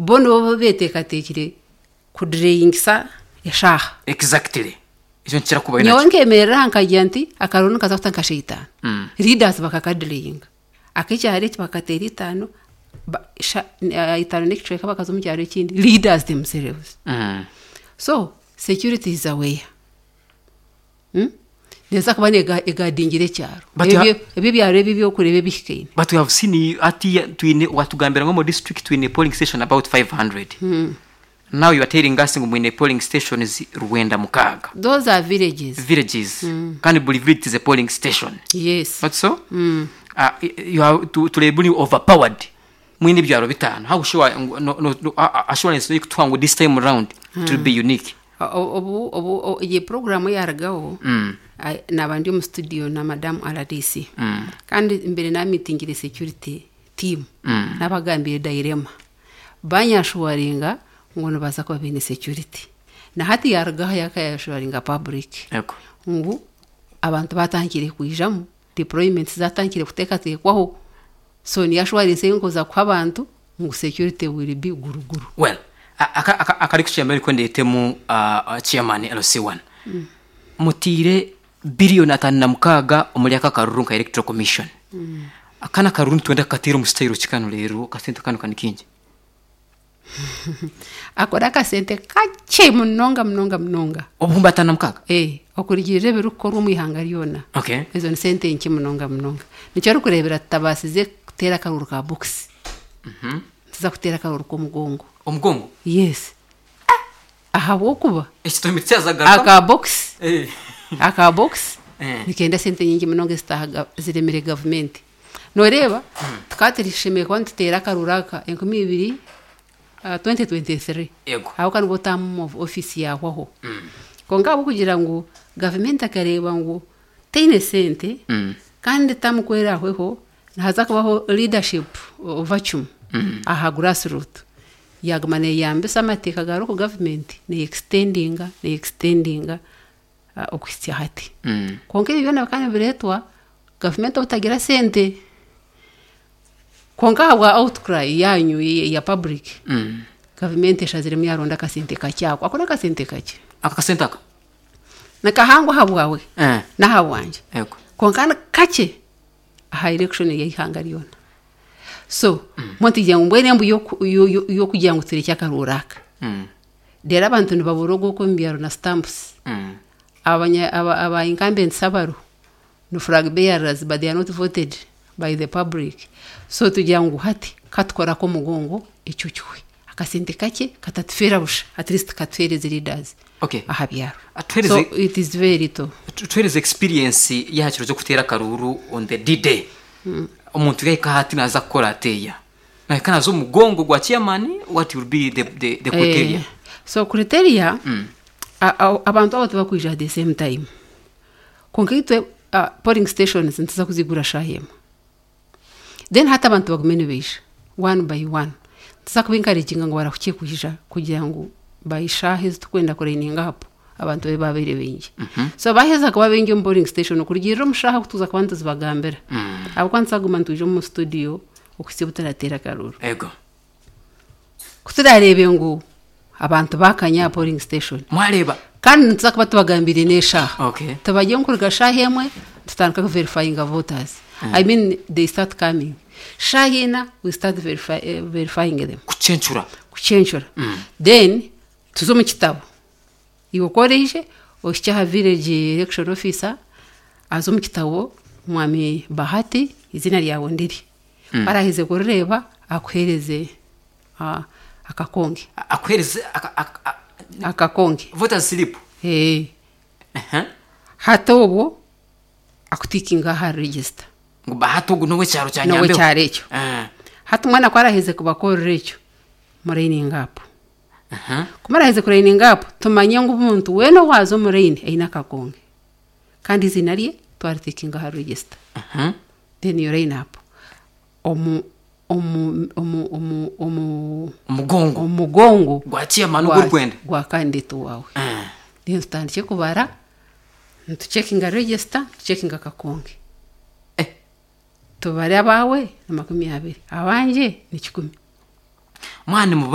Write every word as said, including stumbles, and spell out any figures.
Bo nibo beteekateekire kudelayingisa eshaaha. Exactly, ekyo nikikira kubayo. Nyowe Nakyo nkemerera aha nkagira nti akaruru nikaza kuta nka shaitaano. Mm. Leaders bakakadelayinga, ak'ekyaro eki bakateera itaano, ba- sha- eh, itaano n'ekicweka, bakaza omu kyaro ekindi, leaders themselves. Mm. So security is aware, Hmm? Neeza kuba nega- egadingire ekyaro. But Ebyo- you ebyo ebyaro ebi ebyokureeba ebihikaine. But we have seen ati twine watugambira ngu mu district twine polling station about five hundred. Now you are telling us ngu mwine polling stations rwenda mukaaga. Those are villages. Villages, kandi buli village is a polling station. Yes. Not so? Mm. uh, you have to turebuni overpowered, mwine ebyaro bitano. How sure ngu- no, no, no, uh, assurance ikutuha ngu this time round it will be unique? O- obu obu o- iyi porogaramu yaragaho, mm. ai- naba ndi omu studio na madamu R D C, Mm. kandi mbere namitingire security team, Mm. nabagambire dilemma, banyashuwaringa ngu nibaza kuba baine security. Na hati yarugaho yakayashuwaringa public Ego. ngu abantu batangire kwijamu, deployment zatangire kuteekateekwaho. So niyo assurance nkoza kuha abantu ngu security will be guruguru. Well, a- aka- aka- akari kukyamba ariko ndetemu uh, uh, chairman L C one, mutiire biliyoni atano na mukaaga omuri aka karuru nka Electoral Commission. Akana karuru nitwenda kukatera omu style kikano rero akasente kano kani kingi. Akora akasente kakye munonga munonga munonga. Obuhumbi atano na mukaaga? Eh, okurigirira ebirikukorwa omu ihanga ryona, okay ezo ni sente nke munonga munonga. Nikyo orikureebera tutabaasize kuteera akaruru ka box, tuza kuteera akaruru k'omugongo. Omugongo? Yes, ahabwokuba ekitomi kyazagaruka. Aka box, Eh. aka box Eh. nikenda sente nyingi munonga ezitaha ziremire gavumenti. Noreeba tukaba turishemeye kuba nituteera akaruru aka enkumi ibiri, ah, twenty twenty-three. Yego. Aho kandi term of office yahwaho, konka ahabwokugira ngu gavumenti akareeba ngu teine sente, Mm. kandi tamukwera ahweho nihaza kubaho leadership vacuum aha grassroot, yaguma neyambisa amateeka ga local government, neyextendinga neyextendinga uh, okuhitsya hati. Mm. Konka ebi byona bikaba nibireetwa gavumenti obutagira sente, konka ahabwa outcry yanyu ya ya public, Mm. gavumenti eshaziremu yaronda akasente kakyako. Ako nakasente kakye. Aka kasente aka? Nikahangwa ahabwawe Eh. n'ahabwangye, Yego. konka ni kakye aha election y'eihanga ryona. So mm. ngu mbwenu embu y'oku- yo- yo- y'okugira ngu turekye akaruru aka, Mm. rero abantu nibabura ogw'oku omu byaro na stamps. Mm. Abanya aba, aba incumbents abaro ni flag bearers, but they are not voted by the public. So tugira ngu hati katukorako omugongo, ekyo kiwe akasente kakye katatufeera busha, at least katuheereze leaders Okay. aha byaro. Atuheereze- So it is very little. Tu- tuhereze experience y'aha kiro kyo akaruru on the D day. Omuntu yahika hati naza kukora ateya, nahika naza omugongo gwa chairman, what will be the, the, the criteria? Eh, so criteria, a- a- abantu abo tibakwija at the same time, konka itwe uh, polling stations nituza kuzigura shaha emwe. Then hati abantu bagume nibaija one by one. Tuza kuba encouraginga ngu barahukiye kwija kugira ngu bayishaha ezi tukwenda kulininga hapo abantu babe babaire baingi. So baheza kuba baingi omu polling station okurugirira omu shaha kutuza kuba nituzibagambira, ahabwokuba nituzaguma nitwija omu studio okuhitsya obu turateera akaruru. Ego. Kuturareebe ngu abantu bakanya aha polling station, Mwareba. kandi nituza kuba tubagambire n'eshaaha, okay tubajye nkuruga shaaha emwe tutandika kuverifyinga voters. I mean, they start coming shaaha ina, we start verify, eh, verifying them. Kucencura. Kucencura. Then tuze omu kitabo, iwe okoreije ohikye aha village election officer, aze omu kitabo, mwami Bahati, izina ryawe ndiri, araheze kurireeba akuhereze ah, akakonge. Akuhereze aka- aka- a- Akakonge. Voters slip. Eh. Uh-huh. Hati obwo akutikinga aha register. Ngu Bahati ogu n'owekyaro kya Nyambeho. N'owekyaro ekyo. Eh. Hati omwana ku araheze kubakorera ekyo, murayininga apo. Uh-huh. Kumaraheze kurayininga apo, tumanye ngu omuntu weena owaaza omu line aine akakonge, kandi izina rye twaritikinga aha register. Uh-huh. Then you line up omu omu omu omu omu Omugongo omugongo gwa chairman gwa- ogurikwenda gwa candidate wawe. Eh. Then tutandike kubara, nitucekinga register, tucekinga akakonge. Eh. Tubare abawe ni makumi abiri, abanje ni kikumi. Mwana mubare.